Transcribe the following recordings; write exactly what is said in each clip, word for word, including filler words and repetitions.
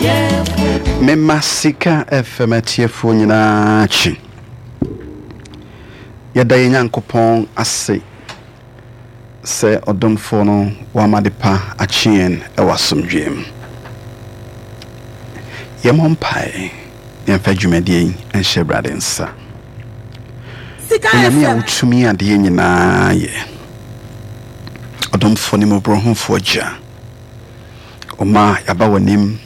Mema Sika F M atiefoɔ nyinaa akyi. Yɛda yɛn Nyankopɔn ase sɛ ɔdomfoɔ no wama de pa akye yɛn ɛwɔ asomdwoeɛ mu. Yɛmmɔ mpae, yɛmfa dwumadie yi nhyɛ Awurade nsa. Sika Onyame a F M. wotumi adeɛ nyinaa yɛ, ɔdomfoɔ ne mmɔborɔhufoɔ Gya, ɔma yɛaba w'anim,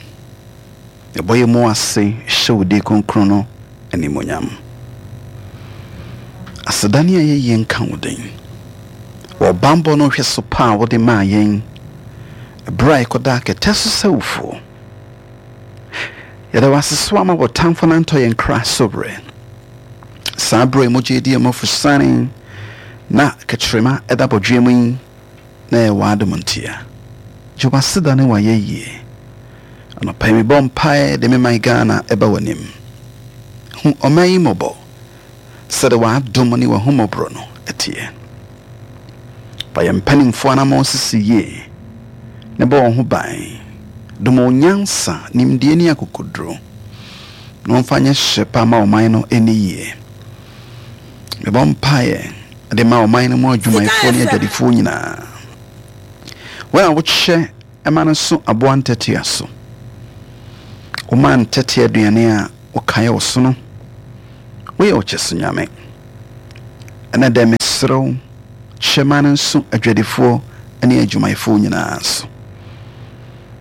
yɛbɔ yɛ mu ase hyɛ wo din kronkron no animonyam. Aseda ne ayɛyie nka wo den wɔ ɔbammɔ no hwɛ so pa a wode maa yɛn ɛberɛ a yɛkɔda kɛtɛ so sɛ wofuo. Yɛda wo ase so ama wɔtamfo no antɔ yɛn kra so berɛ saa berɛ yi mogya adi amafo sane na kɛkyerɛma ɛda bɔdwea mu yi na ɛyɛ w'adom ntia. Gye w'aseda ne w'ayɛyie. Anɔpa yi mebɔ mpaeɛ de me man Ghana ɛba w'anim. Hu ɔman yi mmɔbɔ sɛde w'adom ne w'ahummɔborɔ no ɛteɛ. Fa yɛn mpanimfoɔ anammɔn sisi yie ne bɔ wɔn ho ban. Dom wɔn nyansa, nimdeɛ ne akokoduro na wɔmfa nyɛ hyɛ pa ma ɔman no ani yie. Mebɔ mpaeɛ de ma ɔman no mu adwumayɛfoɔ ne F M. adwadifoɔ nyinaa. Wɔn a wokyɛ ɛma no so aboa ntɛtea so, woma ntɛtea aduane a wokaeɛ wo so no, woyɛ wo kyɛ so Nyame. Ɛnɛ dɛ mesrɛ wo, kyɛ ma no nso adwadifoɔ ne adwumayɛfoɔ nyinaa so.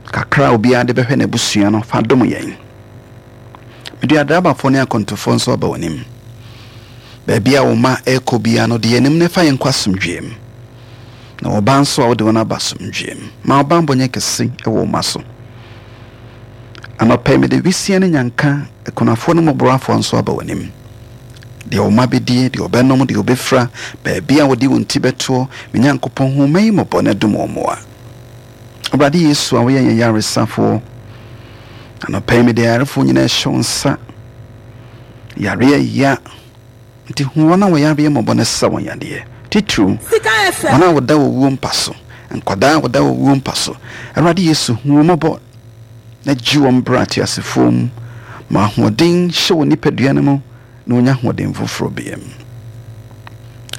Kakra a obiara de bɛhwɛ n'abusua no, fa dom yɛn. Mede adrabafoɔ ne akɔntofoɔ nso aba w'anim. Baabi a wo ma ɛrekɔ biara no, de yɛn anim na ɛfa yɛn nkɔ asomdwoeɛ mu, na wɔba nso a, wode wɔn aba asomdwoeɛ mu. Ma wo bammɔ nyɛ kɛse wɔ wo ma so. Anɔpa yi mede wisia ne nyanka, akunafoɔ ne mmɔborɔafoɔ nso aba w'anim. Deɛ wo ma bɛdie, deɛ ɔbɛnom, deɛ ɔbɛfira, baabi a wɔde wɔn ti bɛtoɔ, me Nyankopɔn, hu ma yi mmɔbɔ na dom wɔn mmoa. Awurade Yesu a woyɛ yɛn yaresafoɔ, anɔpa yi mede ayarefoɔ nyinaa hyɛ wo nsa. Yareɛ ya nti, hu wɔn a wɔyareɛ mmɔbɔ no, sa wɔn yadeɛ, titiriw Sika F M. wɔn a wɔda wɔ wuo mpa so, nkwadaa a wɔda wɔ wuo mpa so. Awurade Yesu, hu wɔn mmɔbɔ na gye wɔn berɛ ateasefoɔ mu. Ma ahoɔden hyɛ wɔ nipadua no mu na wɔnya ahoɔden foforɔ biam.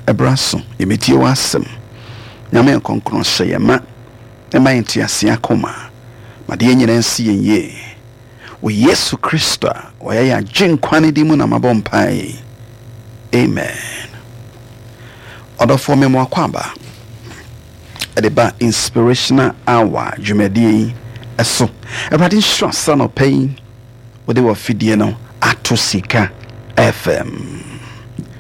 Ɛberɛ so yɛmɛtie wɔ asɛm. Nyame nkɔnkɔn hyɛ yɛn ma ɛma yɛn tease akoma ma deɛ nyinaa nsi yɛn yie. Wɔ Yesu Kristo a ɔyɛ yɛn agye nkwa no din mu na mabɔ mpae, amen. Ɔdɔfoɔ, me mo akɔ aba ɛde ba Inspirational Hour dwumadie yi ɛso. Awurade nhyira sa nɔpɛ yi wode wɔ fidie no ato Sika F M.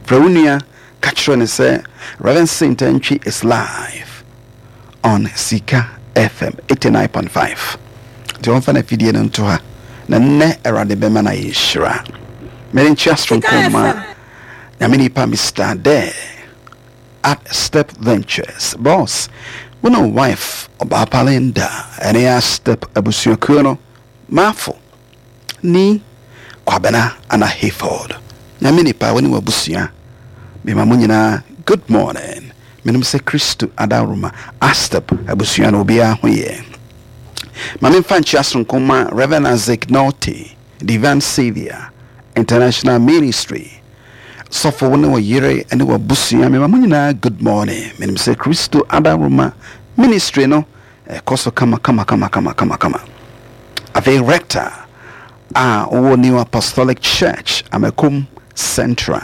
Frɛ wo nua ka kyerɛ ne sɛ Reverend Saint Antwi is live on Sika F M eighty-nine point five, nti wɔmfa no afidie no nto ha na nnɛ Awurade bɛma no ayɛ nhyira. Mede nkyea soronko ma Nyame nipa Mister Dare at Step Ventures boss, wo ne wife ɔbaapa Linda ɛne a Step abusuakuo no, Maafo ni Kwabena ana Hayford. Nyame nipa, wo ne w'abusua, mema mo nyinaa good morning. Menom sɛ Kristo adaworoma, Astep abusua no obiara ho yɛ. Ma memfa nkyea soronko ma Reverend Isaac Norte, Divine Savior International Ministry sɔfo, wo ne wo yere ne w'abusua, mema mo nyinaa good morning. Menim sɛ Kristo adaworoma ministry no ɛkɔ so kama kama kama kama kama kama. Afei rector a ɔwɔ New Apostolic Church, Amakom Central,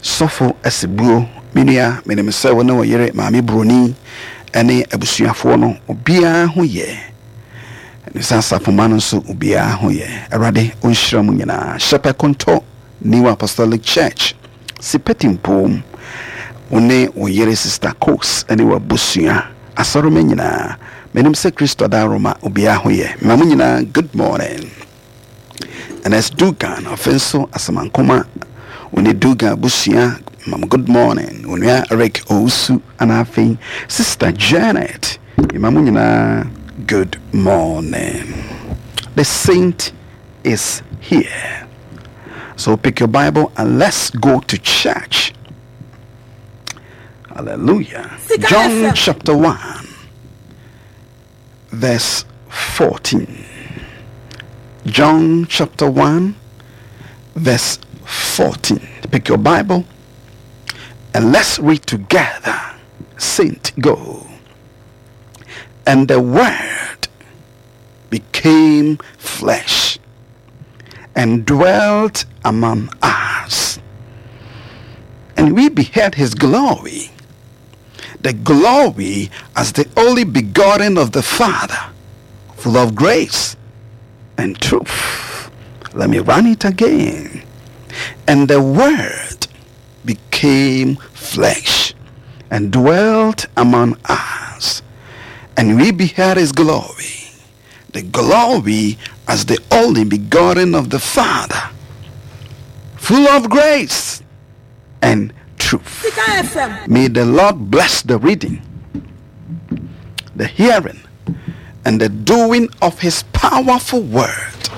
Sɔfo Asibuo, me nua, menim sɛ wo ne wo yere Maame Buroni ne abusuafoɔ no obiara ho yɛ, ne sɛ asafoma no nso obiara ho yɛ. Awurade ɔnhyira mu nyinaa. Hyɛpɛ Konto, New Apostolic Church, Sipɛtimpom, wo ne wo yere Sister Cos ne w'abusua asɔroma nyinaa, menim sɛ Kristo adaworoma obiara ho yɛ. Mema mo nyinaa good morning. Ns Dugan, afei nso Asamankoma, wo ne Dugan abusua, mam good morning. Onua Eric Owusu ana afei Sister Janet, mema mo nyinaa good morning. The saint is here, so pick your Bible and let's go to church. Hallelujah. Sika John F M. chapter one verse fourteen. John chapter one, verse fourteen. Pick your Bible and let's read together. Saint, go. And the Word became flesh and dwelt among us. And we beheld his glory, the glory as the only begotten of the Father, full of grace and truth. Let me run it again. And the Word became flesh and dwelt among us. And we beheld his glory, the glory as the only begotten of the Father, full of grace and truth. May the Lord bless the reading, the hearing, and the doing of his powerful word.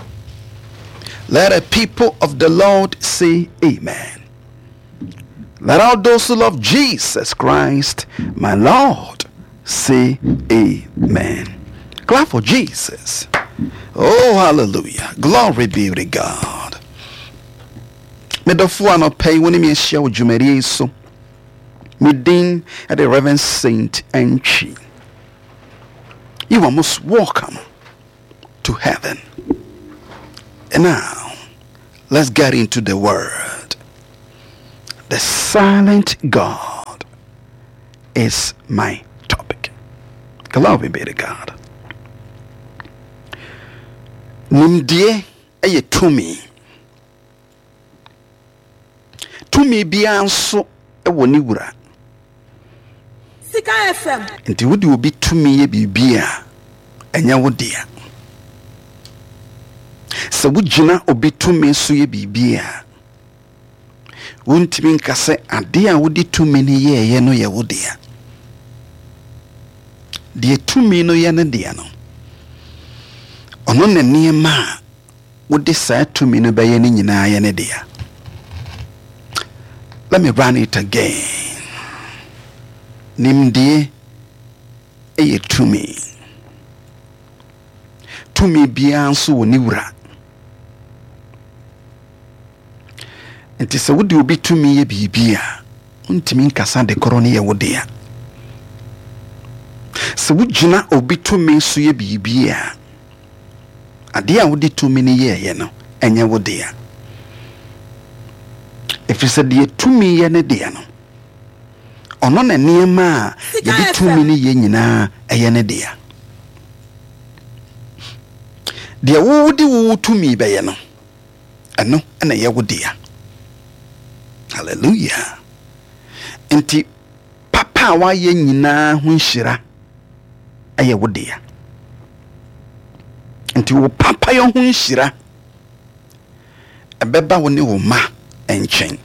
Let the people of the Lord say amen. Let all those who love Jesus Christ, my Lord, say amen. Clap for Jesus. Oh, hallelujah. Glory be to God. Medɔfo anɔpa yi wo ne me ahyia wɔ dwumadie yi so. Me din de Reverend Saint Antwi. You are most welcome to heaven. And now, let's get into the word. The silent God is my topic. Glory be to God. Nimdeɛ yɛ tumi. Tumi biara nso wɔ ne wura. Sika F M. Nti wode obi tumi yɛ biribi a, ɛnyɛ wo dea. Sɛ wogyina obi tumi so yɛ biribi a, wontumi nka sɛ adeɛ a wode tumi no yɛɛyɛ no yɛ wo dea. Deɛ tumi no yɛ ne dea no, ɔno ne nneɛma a wode saa tumi no bɛyɛ no nyinaa yɛ ne dea. Let me run it again. Nimdeɛ yɛ tumi. Tumi biara nso wɔ ne wura. Nti sɛ wode obi tumi yɛ biribi a, wontumi nkasa de korɔ no yɛ wo dea. Sɛ wogyina obi tumi so yɛ biribi a, adeɛ a wode tumi no yɛɛyɛ no, ɛnyɛ wo dea. Ɛfiri sɛ deɛ tumi yɛ ne dea no, ɔno na nneɛma a Sika yɛde F M. tumi no yɛ nyinaa ɛyɛ ne dea. Deɛ wode wo tumi bɛyɛ no, ɛno na ɛyɛ wo dea. Hallelujah. Nti papa a wayɛ nyinaa ho nhyira ɛyɛ wo dea. Nti wo papa yɛ ho nhyira ɛbɛba wo ne wo mma nkyɛn.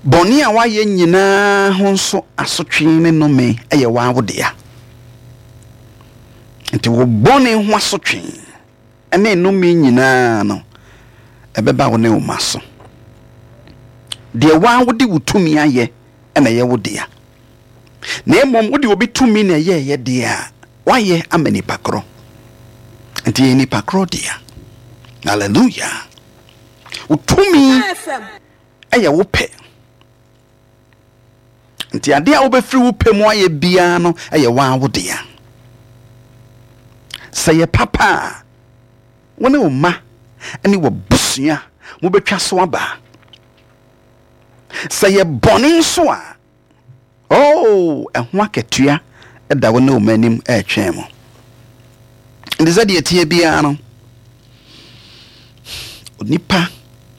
Bɔne a wayɛ nyinaa ho nso asotwe ne nnome ɛyɛ waa wo dea. Nti wo bɔne ho asotwe ɛne nnome nyinaa no ɛbɛba wo ne wo mma so. Deɛ waa wode wo tumi ayɛ ɛna ɛyɛ wo dea. Na mmom wode obi tumi na ɛyɛɛyɛ deɛ a, wayɛ ama nipa korɔ. Nti yɛ nipa korɔ dea. Hallelujah. Wo tumi Sika F M. ɛyɛ wo pɛ. Nti adeɛ a wobɛfiri wo pɛ mu ayɛ biara no ɛyɛ waa wo dea. Sɛ yɛ papa a, wo ne wo mma ne w'abusua mobɛtwa so aba. Sɛ yɛ bɔne nso a, oh, ɛho akatua ɛda wo ne wo mma anim ɛretwɛn mo. Nti sɛ deɛ teɛ biara no, onipa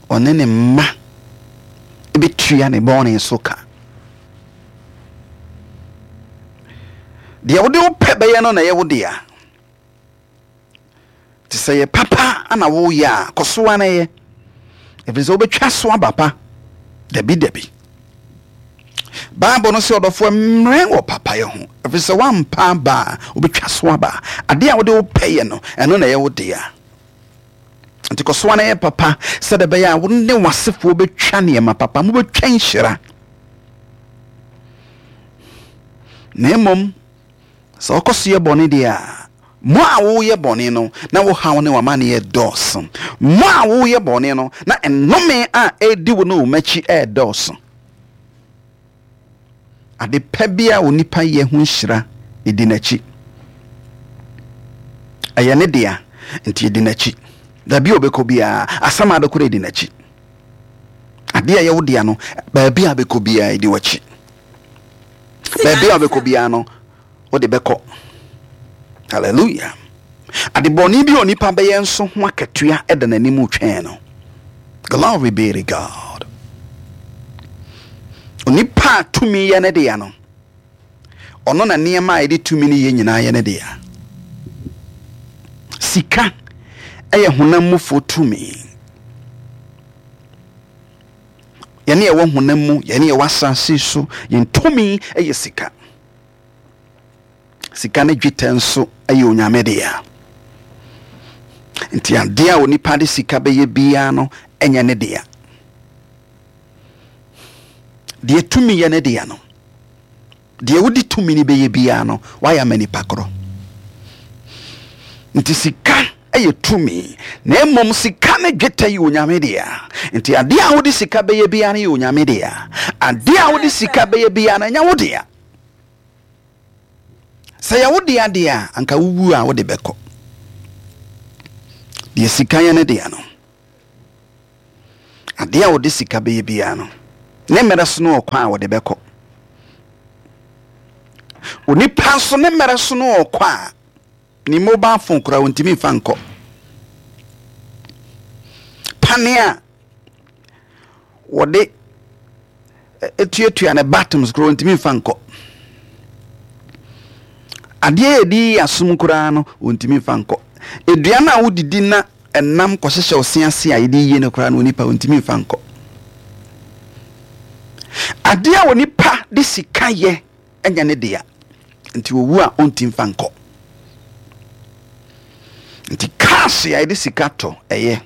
ɔne ne mma ɛbɛtua ne bɔne so ka. Deɛ wode wo pɛ bɛyɛ no na ɛyɛ wo dea. Nti sɛ yɛ papa ana woyɛ a, kɔ so ara na yɛ. Ɛfiri sɛ wobɛtwa so aba pa. Dabi dabi. Bible no sɛ ɔdɔfoɔ mmerɛ wɔ papayɛ ho. Ɛfiri sɛ woampa aba a, wobɛtwa so aba. Adeɛ a wode wo pɛ yɛ no, ɛno na ɛyɛ wo dea. Nti kɔ so ara na yɛ papa sɛdeɛ ɛbɛyɛ a wo ne w'asefoɔ bɛtwa nneɛma papa, mobɛtwa nhyira. Na mmom, sɛ wokɔ so yɛ bɔne deɛ a, Mo a woyɛ bɔne no, na wo haw ne w'amanneɛ dɔɔso. Mo a woyɛ bɔne no, na nnome a ɛredi wo ne wo m'akyi ɛredɔɔso. Ade pa bi a onipa yɛ ho nhyira ɛdi n'akyi. Ɛyɛ ne dea, nti ɛdi n'akyi. Baabi a ɔbɛkɔ biara, asɛm a adekora ɛdi n'akyi. Adeɛ a ɛyɛ wo dea no, baabi a bɛkɔ biara ɛdi w'akyi. Baabi a wobɛkɔ biara no, wode bɛkɔ. Hallelujah. Adebɔne bi a onipa bɛyɛ nso ho akatua ɛda n'anim twɛn no. Glory be to God. Onipa a tumi yɛ ne dea no, ɔno na nneɛma a yɛde tumi no yɛ nyinaa yɛ ne dea. Sika ɛyɛ honam mufoɔ tumi. Yɛne yɛwɔ honam mu, yɛne yɛwɔ asase so, yɛn tumi ɛyɛ sika. Sika ne dwetɛ nso ɛyɛ Onyame dea. Nti adeɛ a onipa de sika bɛyɛ biara no ɛnyɛ ne dea. Deɛ tumi yɛ ne dea no, deɛ wode tumi no bɛyɛ biara no, wayɛ ama nipa korɔ. Nti sika ɛyɛ tumi, na mmom sika ne dwetɛ yɛ Onyame dea. Nti adeɛ a wode sika bɛyɛ biara no yɛ Onyame dea. Adeɛ a wode sika bɛyɛ biara no ɛnyɛ wo dea. Sɛ yɛ wo dea deɛ a, anka wowu a wode bɛkɔ. Deɛ sika yɛ ne dea no, adeɛ a wode sika bɛyɛ biara no, ne mmerɛ so no ɔkwan a wɔde bɛkɔ. Onipa nso ne mmerɛ so no ɔkɔ a, ne mobile phone koraa wɔntumi mfa nkɔ. Pane a wɔde etuatua ne buttons koraa wɔntumi mfa nkɔ. Adeɛ a yɛde yi asom koraa no wɔntumi mfa nkɔ. Aduane a wodidi na ɛnam kɔhyehyɛ wo se ase a yɛde yie no koraa no, onipa wɔntumi mfa nkɔ. Adeɛ a onipa de sika yɛ ɛnyɛ ne dea, nti owu a ɔntumi mfa nkɔ. Nti cars a yɛde sika tɔ ɛyɛ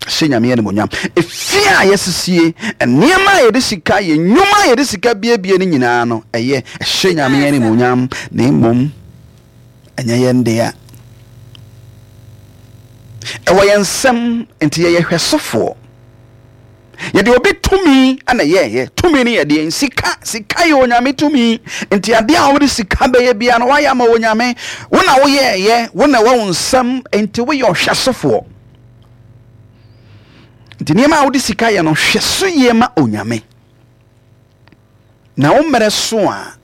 hyɛ Nyame animuonyam. Efie a yɛsisie, nneɛma a yɛde sika yɛ, nnwuma a yɛde sika biebie no nyinaa no ɛyɛ hyɛ Nyame animuonyam, na mmom ɛnyɛ yɛn dea. Ɛwɔ yɛn nsam, nti yɛyɛ hwɛsofoɔ. Yɛde obi tumi ana yɛyɛ. Tumi no yɛ deɛ sika. Sika yɛ Onyame tumi. Nti adeɛ a wode sika bɛyɛ bia no, wayɛ ama Onyame. Wo na woyɛɛyɛ, wo na ɛwɔ wo nsam, nti woyɛ ɔhwɛsofoɔ. Nti nneɛma a wode sika yɛ no, hwɛ so yie ma Onyame. Na wo mmerɛ so a,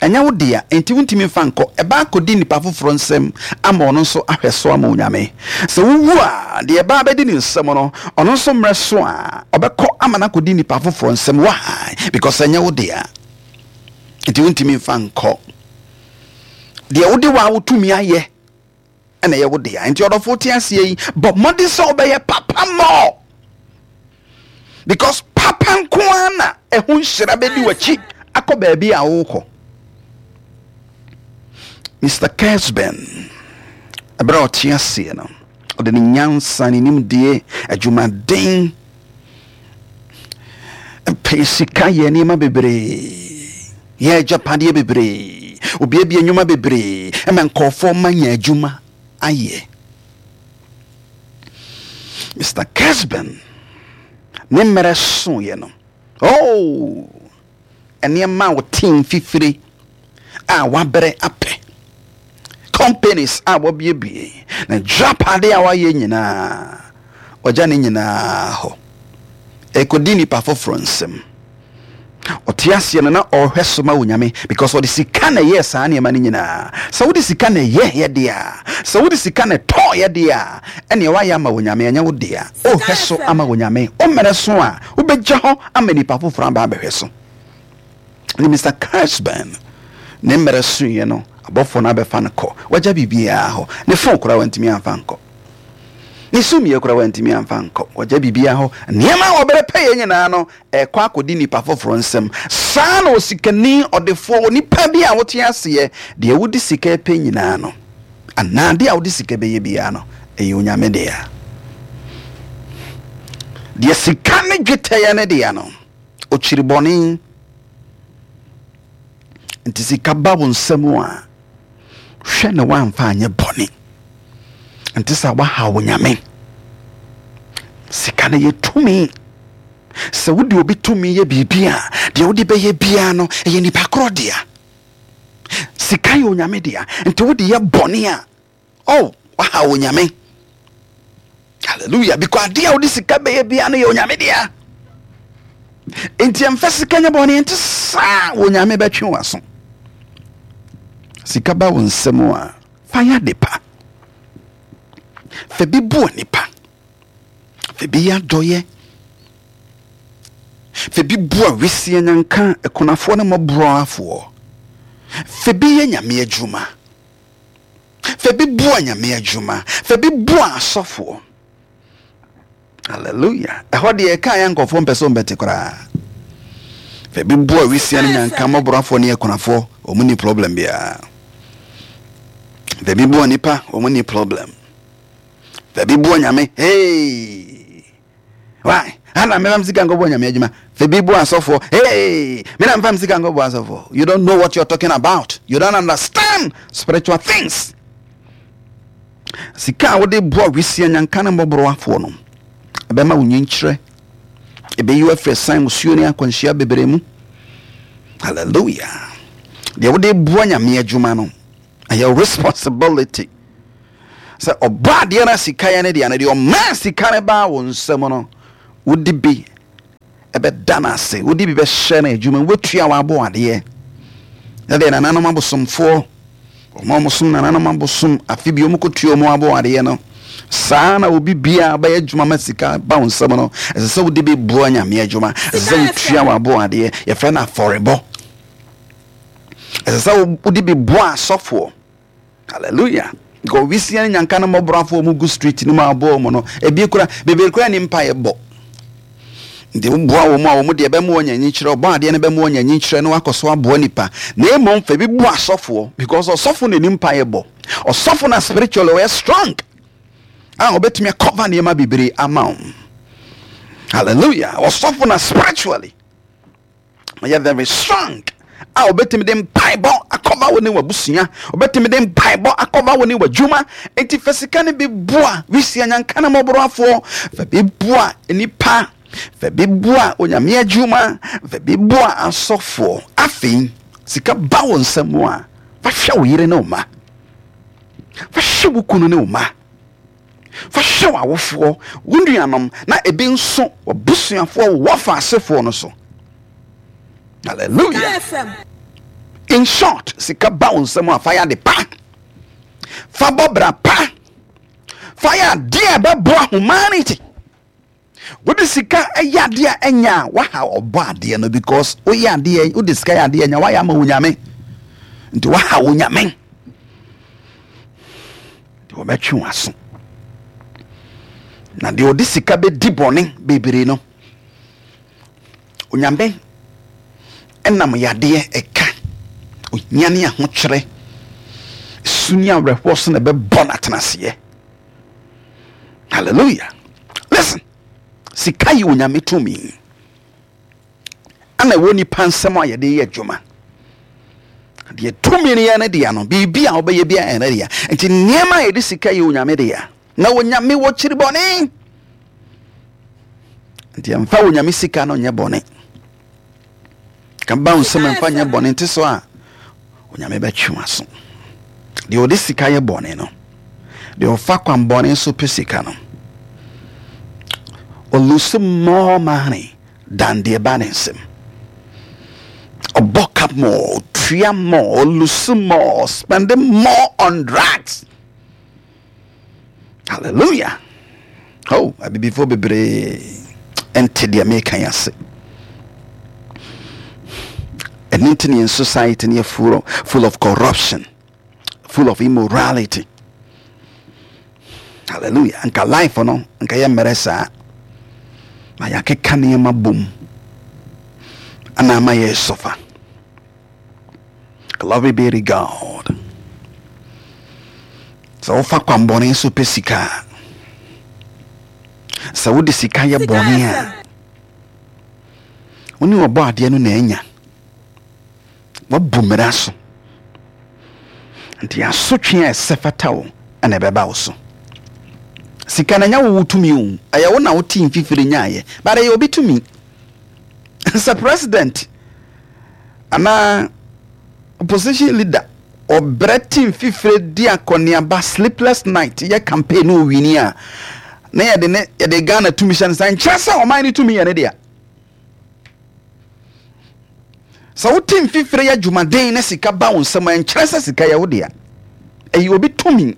ɛnyɛ wo dea, nti wontumi mfa nkɔ. Ɛba akɔdi nipa foforɔ nsam ama ɔno nso ahwɛ so ama Onyame. Sɛ wowu a, deɛ ɛba abɛdi ne nsam no, ɔno nso mmerɛ so a, ɔbɛkɔ ama no akɔdi nipa foforɔ nsam. Why? Because ɛnyɛ wo dea, nti wontumi mfa nkɔ. Deɛ wode wo a wotumi ayɛ ɛna ɛyɛ wo dea. Nti ɔdɔfo te aseɛ yi, bɔ mmɔden sɛ wobɛyɛ papa more, because papa nko ara na ɛho nhyira bɛdi w'akyi akɔ baabi a wokɔ. Mister Kesben, ɛberɛ a ɔte aseɛ no, ɔde ne nyansa, ne nimdeɛ, adwumaden, pɛ sika yɛ nneɛma bebree, yɛ agyapadeɛ bebree, obiabia nnwuma bebree, ɛma nkɔɔfoɔ ma nya adwuma ayɛ. Mister Kesben ne mmerɛ soeɛ no, oh, nneɛma a wɔte mfifire a wabrɛ apɛ, companies a wɔabiebie, na dwapade a wayɛ nyinaa, ɔgya ne nyinaa hɔ ɛkɔdi nipa foforɔ nsam. Ɔte aseɛ no na ɔrehwɛ so ma Onyame, because ɔde sika na ɛyɛɛ saa nneɛma no nyinaa. Sɛ wode sika na ɛyɛ yɛ deɛ a, sɛ wode sika na ɛtɔɔ yɛ deɛ a, ɛneɛ woayɛ ama Onyame, ɛnyɛ wo dea. Wohwɛ so ama Onyame, wo mmerɛ so a, wobɛgya hɔ ama nipa foforɔ aba abɛhwɛ so. Ne Mister Kesben ne mmerɛ soeɛ no, abɔfoɔ no abɛfa no kɔ. Wagya biribiara hɔ. Ne phone koraa wantumi amfa nkɔ. Ne sumiiɛ koraa wantumi amfa nkɔ. Wagya biribiara hɔ. Nneɛma a wɔbrɛ pɛyɛ nyinaa no, ɛkɔ akɔdi nipa foforɔ nsam. Saa na osikani, ɔdefoɔ, onipa bi a wote aseɛ, deɛ wode sika pɛ nyinaa no, anaa deɛ a wode sika bɛyɛ biara no, ɛyɛ Onyame dea. Deɛ sika ne dwetɛ yɛ ne dea no, ɔkyiri bɔne. Nti sika ba wo nsam a, hwɛ na woamfa anyɛ bɔne. Nti sɛ woahaw wo Nyame. Sika no yɛ tumi. Sɛ wode obi tumi yɛ biribi a, deɛ wode bɛyɛ biara no, ɛyɛ nipa korɔ dea. Sika yɛ Onyame dea. Nti wode yɛ bɔne a, oh, wahaw Onyame. Hallelujah. Because adeɛ a wode sika bɛyɛ biara no yɛ Onyame dea. Nti ɛmfa sika nyɛ bɔne, nti saa Onyame bɛtwe w'aso. Sika ba wo nsam a, fa yɛ ade pa. Fa bi boa nipa. Fa bi yɛ adɔyɛ. Fa bi boa wisie nyanka, akunafoɔ ne mmɔborɔafoɔ. Fa bi yɛ Nyame adwuma. Fa bi boa Nyame adwuma. Fa bi boa asɔfoɔ. Hallelujah. Ɛhɔ deɛ ɛka yɛ nkɔfoɔ mpɛ sɛ ɔmbɛte koraa. Fa bi boa wisia ne nyanka, mmɔborɔafoɔ ne akunafoɔ, wɔn ni problem biara. Fa bi boa nipa, wɔn ni problem. Fa bi boa Nyame, hey! Why? Ana mema sika nkɔbɔ Nyame adwuma. Fa bi boa asɔfoɔ, hey! Mena mfa sika nkɔbɔ asɔfoɔ. You don't know what you're talking about. You don't understand spiritual things. Sika a wode boa wisia nyanka ne mmɔborɔafoɔ no, ɛbɛma wo nyinkyerɛ. Ɛbɛyi wo afiri ɛsan musuo ne akwanhyia bebree mu. Hallelujah. Deɛ wode boa Nyame adwuma no, ɛyɛ responsibility. Sɛ ɔbɔ adeɛ no sika yɛ ne deɛ no, deɛ ɔmaa sika no baa wo nsam no, wode bi ɛbɛda no ase, wode bi bɛhyɛ no adwuma, wobɛtua w'abɔ adeɛ. Ɛdeɛ nananom abosomfoɔ, ɔmo a ɔmo nananom abosom, afe bi ɔmo kɔtua ɔmo abɔ adeɛ no, saa na obi biara bɛyɛ adwuma ma sika ba wo nsam no, ɛsɛ sɛ wode bi boa Nyame adwuma, ɛsɛ sɛ wotua w'abɔ adeɛ, yɛfrɛ no afɔrebɔ. Ɛsɛ sɛ wode bi boa asɔfoɔ. Hallelujah. Because wisia ne nyanka no mmɔborɔafoɔ mu gu street no mu aboɔ mu no, ebi kura bebree kura ne mpaeɛ bɔ. Nti woboa wɔn a wɔn deɛ bɛma wɔn anyi kyerɛ, ɔbɔ adeɛ no bɛma wɔn anyi kyerɛ na wakɔ so aboa nipa. Na mmom fa bi boa asɔfoɔ, because ɔsɔfo na ne mpaeɛ bɔ. Ɔsɔfo na spiritually ɔyɛ strong a ɔbɛtumi akɔva nneɛma bebree ama wo. Hallelujah. Ɔsɔfo na spiritually ɔyɛ very strong a ɔbɛtumi de mpaebɔ akɔva wo ne w'abusua, ɔbɛtumi de mpaebɔ akɔva wo ne w'adwuma. Nti fa sika no bi boa wisia nyanka ne mmɔborɔafoɔ, fa bi boa nipa, fa bi boa Onyame adwuma, fa bi boa asɔfoɔ. Afei sika ba wo nsam a, fa hwɛ wo yere ne wo mma, fa hwɛ wo kunu ne wo mma, fa hwɛ w'awofoɔ, wo nuanom, na ebi nso w'abusuafoɔ, wo wɔfa asefoɔ no so. Hallelujah. In short, sika ba wo nsam a, fa yɛ ade pa, fa bɔ bra pa, fa yɛ adeɛ a ɛbɛboa humanity. Wode sika yɛ adeɛ a ɛnyɛ a, waha ɔbɔ adeɛ no, because woyɛ adeɛ, wode sika yɛ adeɛ ɛnyɛ, wayɛ ama wo Nyame. Nti waha wo Nyame. Nti wɔbɛtwe w'aso. Na deɛ ɔde sika bɛdi bɔne bebree no, Onyame ɛnam yadeɛ ɛka, ohia ne ahokyerɛ, su ne awerɛhoɔ so na ɛbɛbɔ no atenaseɛ. Hallelujah. Listen, sika yɛ Onyame tumi. Ana ɛwɔ nipa nsɛm a yɛde yɛ adwuma. Deɛ tumi no yɛ ne dea no, biribi a wobɛyɛ bi a ɛyɛ ne dea. Nti nneɛma a yɛde sika yɛ Onyame dea. Na Onyame wɔ kyiri bɔne. Nti ɛmfa Onyame sika no nyɛ bɔne. Ka ba wo nsɛm ɛmfa nyɛ bɔne, nti so a Onyame bɛtwe w'aso. Deɛ ɔde sika yɛ bɔne no, deɛ ɔfa kwan bɔne so pɛ sika no, ɔlose more money than deɛ ba ne nsam. Ɔbɔ ka more, ɔtua more, ɔlose more, spending more on drugs. Hallelujah. Oh, abibifoɔ bebree ɛnte deɛ meka yi ase. Ɛno nti ne yɛn society no yɛ full of, full of corruption, full of immorality. Hallelujah. Nka life no, nka yɛ mmerɛ saa. Na yɛakeka nneɛma bom. Ana ama yɛ suffer. Glory be to God. Sɛ wofa kwanbɔne so pɛ sika a, sɛ wode sika yɛ bɔne a, wo ne ɔbɔ adeɛ no na anya. Wabu mmara so. Nti asotwe a ɛsɛ fata wo ɛna ɛbɛba wo so. Sika na nya wo tumi o. Ɛyɛ wo na wote mfifiri nyaayɛ. But ɛyɛ obi tumi. Sɛ president anaa opposition leader ɔbrɛ te mfifire di akɔneaba, sleepless night, yɛ campaign na owini a, na yɛde ne yɛde Ghana tumi hyɛ ne nsa, nkyerɛ sɛ ɔman no tumi yɛ ne dea. Sɛ wote mfifire yɛ adwumaden na sika ba wo nsam a, nkyerɛ sɛ sika yɛ wo dea. Ɛyɛ obi tumi.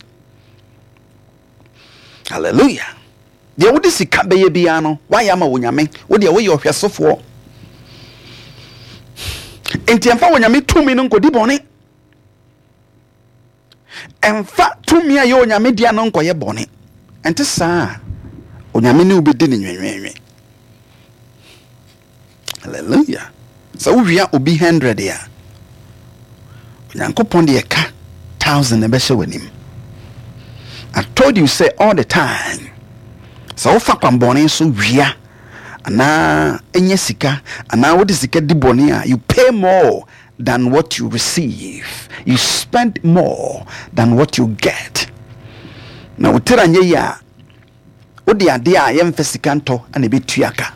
Hallelujah. Deɛ wode sika bɛyɛ biara no, woayɛ ama wo Nyame. Wo deɛ woyɛ ɔhwɛsofoɔ. Nti ɛmfa wo Nyame tumi no nkɔdi bɔne. Ɛmfa tumi a ɛyɛ Onyame dea no nkɔyɛ bɔne. Ɛnte saa a, Onyame ne wo bɛdi ne nwenwenwen. Hallelujah. Sɛ wowia obi hundred a, Onyankopɔn deɛ ɛka thousand na ɛbɛhyɛ w'anim. I told you say all the time, sɛ wofa kwanbɔne so wia anaa ɛnyɛ sika anaa wode sika di bɔne a, you pay more than what you receive. You spend more than what you get. Na wo tiri anyɛ yie a, wode adeɛ a yɛmfa sika ntɔ na ɛbɛtua ka.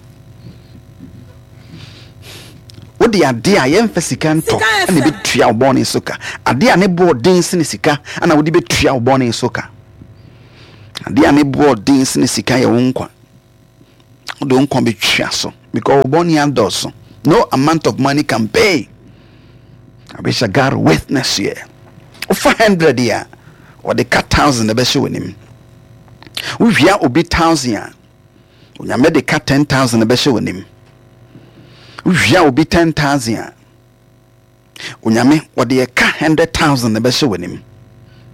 Wode adeɛ a yɛmfa sika ntɔ na ɛbɛtua wo bɔne so ka. Adeɛ a ne boɔ den sene sika na wode bɛtua wo bɔne so ka. Adeɛ a ne boɔ den sene sika yɛ wo nkwa. Wode wo nkwa bɛtua so because wo bɔne adɔɔso. No amount of money can pay. I wish I got a witness here. Wofa hundred a, wɔde ka thousand na ɛbɛhyɛ w'anim. Wowia obi thousand a, Onyame de ka ten thousand na ɛbɛhyɛ w'anim. Wowia obi ten thousand a, Onyame wɔde ɛka hundred thousand na ɛbɛhyɛ w'anim.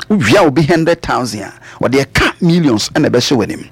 Wowia obi hundred thousand a, wɔde ɛka millions na ɛbɛhyɛ w'anim.